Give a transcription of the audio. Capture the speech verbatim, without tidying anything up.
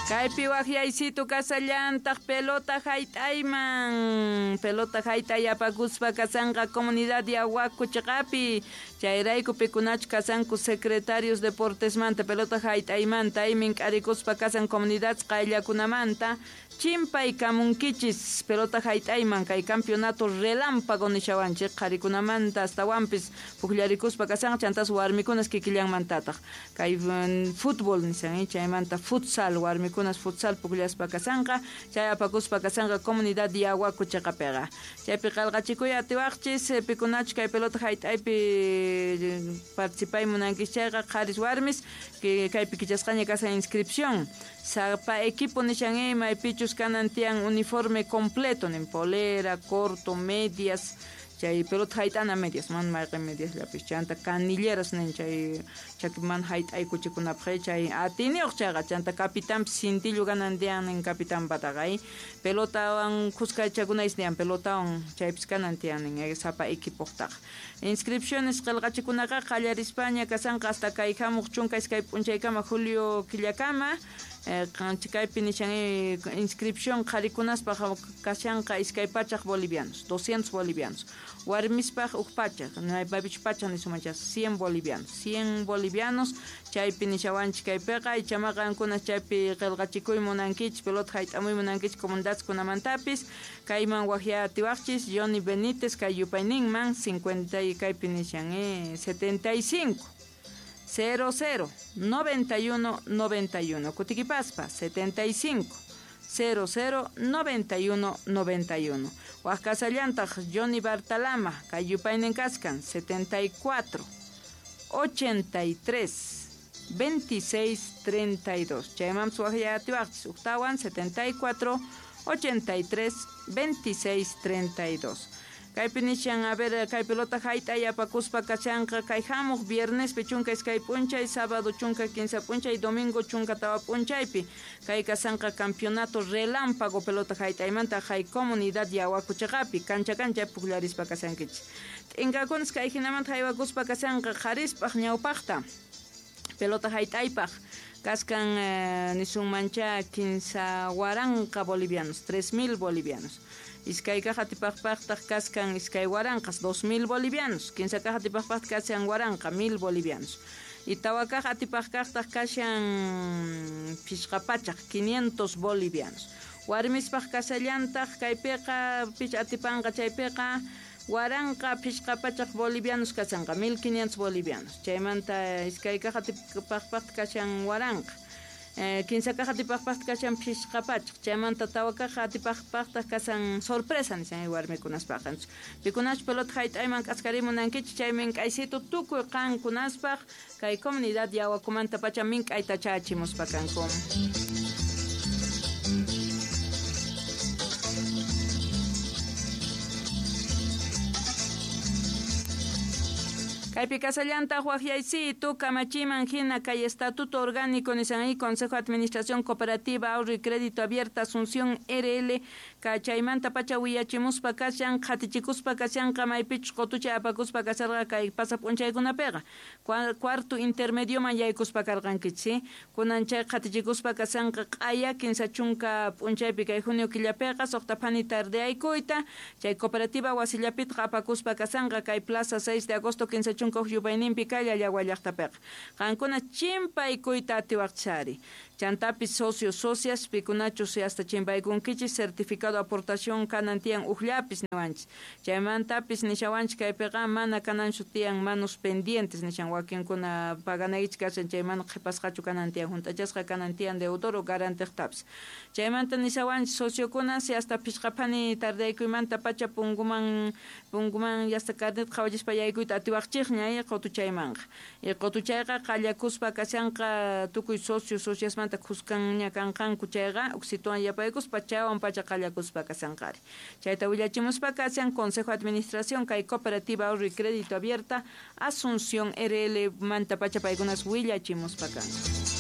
Kaypi waqyaysitu kasallantaq pelota hayt'ayman pelota hayt'ay apakuspa kasanqa comunidad Yahuaco chiqapi chayrayku pikunachu kasanku secretarios deportesmanta pelota hayt'aymanta aymin k'arikuspa kasan comunidad qayllakunamanta chimpay kamunkichis pelota hayt'ayman kay campeonato relámpago nishawanchik qharikunamanta astawanpis pukllarikuspa kasanqa chantas warmikunas kikillanmantataq kay fútbol nishan chaymanta futsal warmikunas futsal pukllaspa kasanqa chay apakuspa kasanqa comunidad Yahuaco chiqapiqa chaypi qillqachikuy atiwaqchis pikunachu kay pelota hayt'aypi participay munankichis chayqa qharis warmis kaypi kichasqaña kasan inscripción sapa equipo nishan maypichus kanan tiyan uniforme completo nin polera, corto, medias chay pelota hayt'ana medias man mayqin medias llapis chanta canilleras nin chay chakiman hayt'aykuchikunapaq chay atiniyuq chayqa chanta capitanpis cintillo kanan tiyan nin capitanpataqa pelotawan khuskachakunayis niyan pelotawan chaypis kanan tiyan nin sapa equipoqtaqa inscripciones qillqachikunaqa qallarispaña kasanqa hasta kay hamuq chunka iskay p'unchaykama julio killakama kaypi nishan inscripción qharikunaspaq kashanqa iskay pachaq bolivianos doscientos bolivianos warmispaq huk pachaq maypichu pachaq nisumanchas cien bolivianos cien bolivianos chaypi nishawanchik kaypiqa ichamaqa qankuna chaypi qillqachikuy munankichis pelota hayt'amuy munankichis comunidadkunamantapis kayman waqyatiwaqchis Johnny Benítez kay yupayninman cincuenta y kaypi nishan eh, setenta y cinco cero cero noventa y uno noventa y uno Kutiquipaspa setenta y cinco cero cero noventa y uno noventa y uno Huascasallantaq Johnny Bartalama kay yupaynin kaskan setenta y cuatro ochenta y tres veintiséis treinta y dos Chaymanpis waqyatiwaqchis uktawan setenta y cuatro ochenta y tres veintiséis treinta y dos Kaypi nishan a ver kay pelota hayt'ay apakuspa kashanqa kay hamuq viernespi chunka iskay p'unchay sábado chunka kinsa p'unchay domingo chunka tawa p'unchaypi kay kasanqa campeonato relámpago pelota hayt'aymanta hay comunidad Yahuaco chiqapi kancha kancha pukllarispa kasankichis t'inkakunas kay hinamanta haywakuspa kasanqa qharispaq ñawpaqta pelota hayt'aypaq kaskan eh, nisunmancha kinsa waranqa bolivianos tres mil bolivianos iskay kaq atipaqpaqtaq kaskan iskay waranqas dos mil bolivianos kinsa kaq atipaqpaqtaq kashan waranqa mil bolivianos y tawa kaq atipaqkaqtaq kashan phishqa pachaq quinientos bolivianos warmispaq kasallantaq kaypiqa pich atipanqa chaypiqa waranqa phishqa pachaq bolivianos kasanqa mil quinientos bolivianos chaymanta iskay kaq atipaqpaqtaq kashan waranqa kinsa kaq atipaqpaqtaq kashan phishqa pachaq chaymanta tawa kaq atipaqpaqtaq kasan sorpresa nishan warmikunaspaq pikunachu pelota hayt'ayman k'askarimunankichik chay mink'aysitu tukuy qankunaspaq kay comunidad Yahuacomanta pacha mink'ayta chachimuspa kanku. Kaypi kasallantaq waqyaysitu kamachiman hina kay Estatuto Orgánico nishan Consejo de Administración Cooperativa Ahorro y Crédito Abierta Asunción R L kachaymanta pacha willachimuspa kashan qhatichikuspa kashanqa maypichus qutucha apakuspa kasharqa kay pasa p'unchaykunapiqa cuarto intermedioman yaykuspa karqankichis kunan chay qhatichikuspa kashanqa q'aya kinsa chunka p'unchaypi kay junio killapiqa suqta phani tardeaykuyta chay cooperativa wasillapitqa apakuspa kashanqa kay plaza seis de agosto kinsa chunka yupayninpi kay Llallagua llaqtapiqa qankuna chimpaykuyta atiwaqchari chantapis socios socias pikunachus hasta chimpaykunkichis certificado aportación kanan tiyan ujllapis niwanchis chaymantapis nishawanchis kaypiqa mana kananchu tiyan manos pendientes nishan wakinkuna paganaykichis kashan chay mana qhipasqachu kanan tiyan hunt'achasqa kanan tiyan deudor o garantiqtapis chaymanta nishawanchis sociokuna si hasta phishqa phani tardaykuymanta pacha punguman punguman hasta carnet qhawachispa yaykuyta atiwaqchikña qutuchaymanqa y qutuchayqa qallakuspa kashanqa tukuy socio sociasmanta khuskanña kanqanku chayqa uksituwan yapaykuspa chaywan pacha qallakuspa kasanqari chayta willachimuspa kashan Consejo de Administración kay Cooperativa Ahorro y Crédito Abierta Asunción R L manta pacha paykunas willachimuspa kanku.